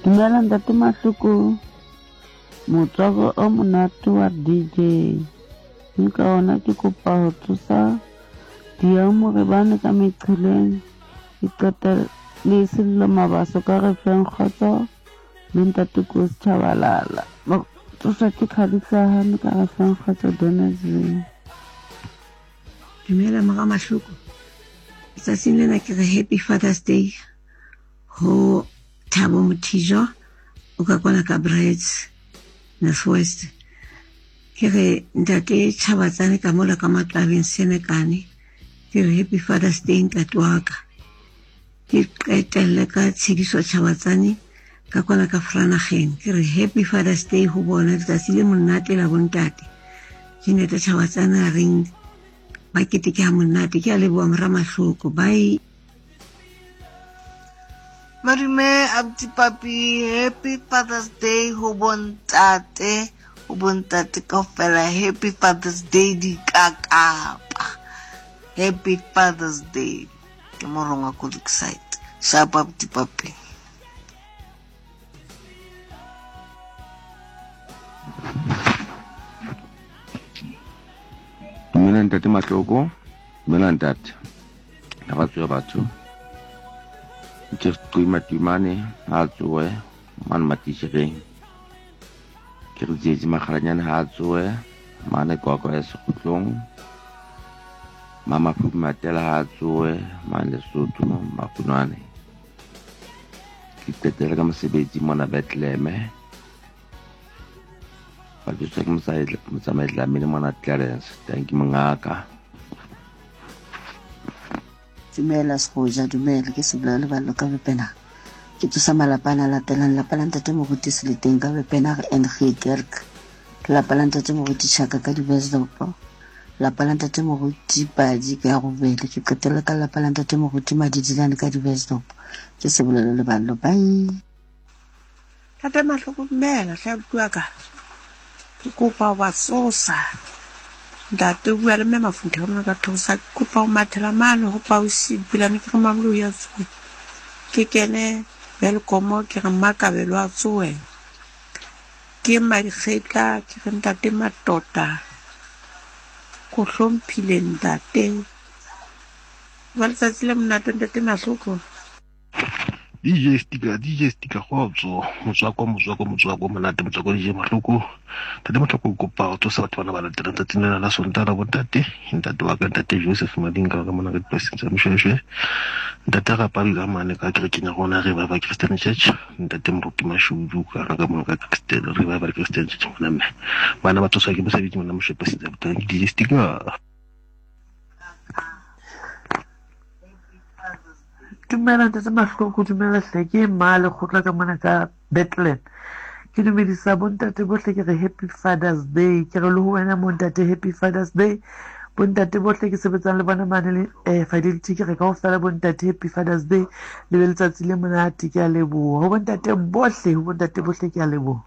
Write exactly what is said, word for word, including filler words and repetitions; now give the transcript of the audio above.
Dumela ntate Mahloko, motswako o monate wa D J. Mme ka ona ke kopa ho tsosa diamorebane ka meqheleng. Ke qeta le Sello Mabaso ka re feng kgotso le ntate Kosi Tshabalala. Ba tsosa ke Khadihlahane ka re feng kgotso Donaldson. Dumela mora Mahloko. Letsatsing lena ke re Happy Father's Day ho Thabo Mothijo o ka kwana ka Brits North West. Ke re ntate Chabatsane ka mola ka matlabeng Senekane. Ke re Happy Father's Day ntate wa ka. Ke qetelle ka Tshidiso Chabatsane ka kwana ka Franageng. Ke re Happy Father's Day ho bona, letsatsi le monate la bontate. Jeanette Chabatsane a reng ba keteke ha monate. Ke a leboha mora Mahloko. Bye. Madume Abuti Papi, Happy Father's Day ho bontate, ho bontate kaofela. Happy Father's Day dikakapa. Happy Father's Day. Ke morongwa ko Lakeside. Sharp Abuti Papi. Dumela ntate Mahloko, dumela ntate. Ha ba tsoha batho. Ke qima timane ha tsoe mane matishereng. Ke re tsietsi makgalanyane ha tsoe mane kwakwa ya sekgutlong. Mama Phupi Matela ha tsoe mane Lesotho Makunwane. Ke qetela ka mosebetsi mona Bethlehem. Ba tsosa ke motsamai Dlamini mona Clarence. Thank you mongaka. Dumela Segoja, dumela ke Sebula le ballo ka Bepena. Ke tsosa malapa a latelang, lapa la ntate Moruti Seleteng ka Bepena N G Kerk. Lapa la ntate Moruti Chaka ka Dibesdopo. Lapa la ntate Moruti Padi ka Robele. Ke qetela ka lapa la ntate Moruti Madidilane ka Dibesdopo. Ke Sebula le ballo. Bye. Ntate Mahloko, dumela hle bua ka. Ke kopa wa tsosa. Ntate o bua le mme Mafunthe ka mona ka thosa. Ke kopa ho mathela mane ho Pausi Pilane ke re Mamolo ya tsoe. Ke kene Welkomo ke re Mmakabelo a tsoe. Ke Madikgetla ke re ntate Matota. Ko hlomphile ntate. Ba letsatsi le monate ntate Mahloko. D J Sticker, D J Sticker, kgotso, motswako, motswako, motswako, monate, motswako, D J Mahloko. Ntate Mahloko, kopa ho tsosa batho bana ba latelang tsatsing lena la Sontaha la bontate. Ntate wa ka, ntate Joseph Madinga ka mona ka dipolasing tsa Moshweshwe. Ntate Rapabi ka mane ka kerekeng ya rona Revival Christian Church. Ntate Moruti Mashudu ka ka mona ka Christian Revival Christian Church mona mme. Bana ba tsoswa ke mosebetsi mona Moshweshwe polasing tsa boteng. D J Sticker. Dumela ntate Mahloko, dumela hle. Ke mma lekgotla ka mona ka Bethlehem. Ke dumedisa bontate bohle, ke re Happy Father's Day. Ke re le ho wena montate Happy Father's Day. Bontate bohle ke sebetsang le bona mane le eh, Fidelity, ke re kaofela bontate Happy Father's Day. Le be letsatsi le monate, ke a leboha. Ho bontate bohle, ho bontate bohle ke a leboha.